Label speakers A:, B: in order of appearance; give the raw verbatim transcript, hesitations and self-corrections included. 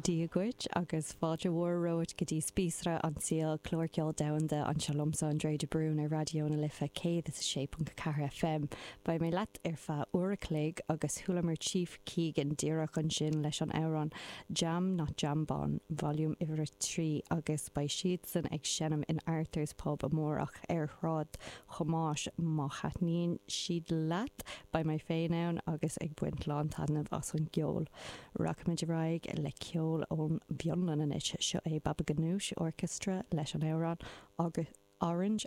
A: Dia dhuit agus fáilte mhór romhat go dtí Spíosra an tSaoil clár ceoil domhanda anseo liomsa André de Brún ar Raidió na Life céad is a sé ponc ceathair FM. Beidh mé leat ar feadh uair a chloig agus chualamar Chief Keegan díreach ansin leis an amhrán Jam Not Jambon Volume uimhir a trí agus beidh siadsan ag seinm in Arthur's Pub amárach ar Shráid Thomáis má thaitníonn siad leat beidh mé féin ann agus ag baint lántaitneamh as an gceol. Rachaimid ar aghaidh le ceol ón bhFionlainn anois seo é Baba Ganoush Orchestra leis an amhrán agus Orange